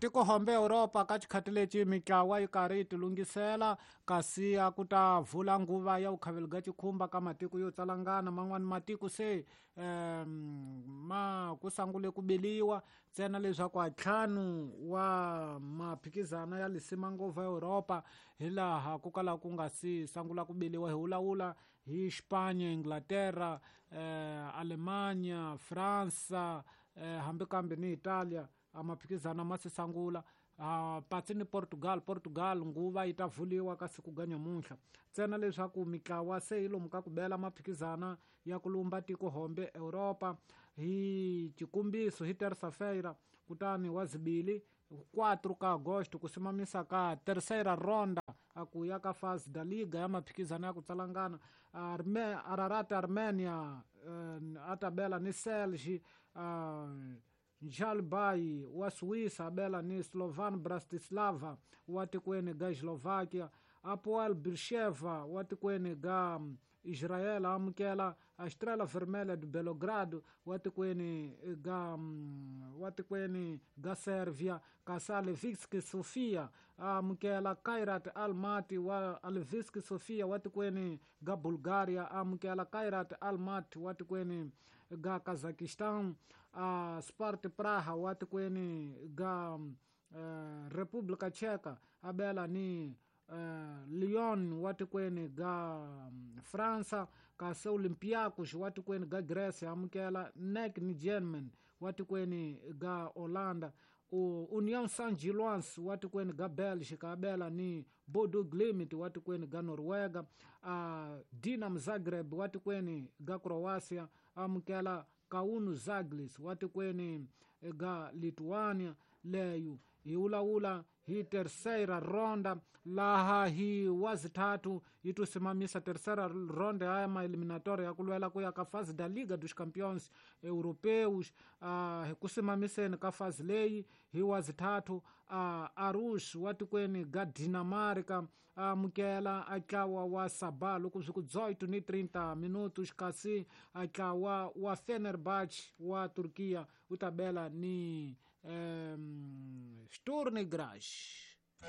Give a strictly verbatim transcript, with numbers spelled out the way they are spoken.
Tiko hombe Europa ka xikhati lexi mitlawa yi karhi yi tilunghisela kasi a ku ta vula nguva ya vukhaveli bya xikhumba ka matiko yo tsalangana man'wani matiko se um ma ku sangule ku beliwa ntsena leswaku a ntlhanu wa maphikizana ya lisima ngopfu Europa hi laha ku kala ku nga si sangula ku beliwa hi vulavula hi Spanya, Inglaterra, eh, Alemanya, Fransa, eh, hambi kambe ni Italia a maphikizana ma si sangula uh, patsi ni Portugal. Portugal nguva yi ta vuliwa ka siku ga nyamuntlha ntsena leswaku mitlawa se yi lomu ka ku bela maphikizana ya ku lumba tiko hombe Europa hi xikombiso hi terça-feira kutani wa zibili quatro ka agosto ku simamisa ka terceira ronda a ku ya ka fase da liga ya maphikizana ya ku tsalangana Arme, Ararat Armenia uh, a ta bela ni Celje uh, Njalbai wa Suíça abela ni Slovan Bratislava wa tikweni ga Eslováquia, Apoel Beersheva wa tikweni ga Israel amukela a Estrela Vermelha de Belgrado wa tikweni ga wa tikweni ga Sérvia, kasi Levski Sofia amukela Kairat Almaty wa Levski Sofia wa tikweni ga Bulgaria amukela Kairat Almaty wa tikweni ga Kazakhstan, a Sparta Praha wa tikweni ga uh, República Tcheca abela ni uh, Lyon wa tikweni ga um, França, kasi Olympiacos wa tikweni ga Grécia amukela N E C Nijmegen wa tikweni ga Holanda, União Saint-Gilloise wa tikweni ga Bélgica abela ni Bodo Glimt wa tikweni ga Noruega, uh, Dinamo Zagreb wa tikweni ga Croácia amukela Kauno Zaglis wa tikweni ga Lithuania. Leyo hi vulavula hi terceira ronda laha hi wazithathu yi to simamisa terceira ronda ya maeliminatoria ya ku lwela ku ya ka fase da Liga dos Campeões Europeus. uh, hi ku simamiseni ka fase leyi hi wazithathu uh, Aarhus wa tikweni ga Dinamarca amukela a ntlawa wa Sabah loko swi ku dezoito ni trinta minutos, kasi a ntlawa wa Fenerbahce wa Turkiya wu ta bela ni um, Sturm Graz.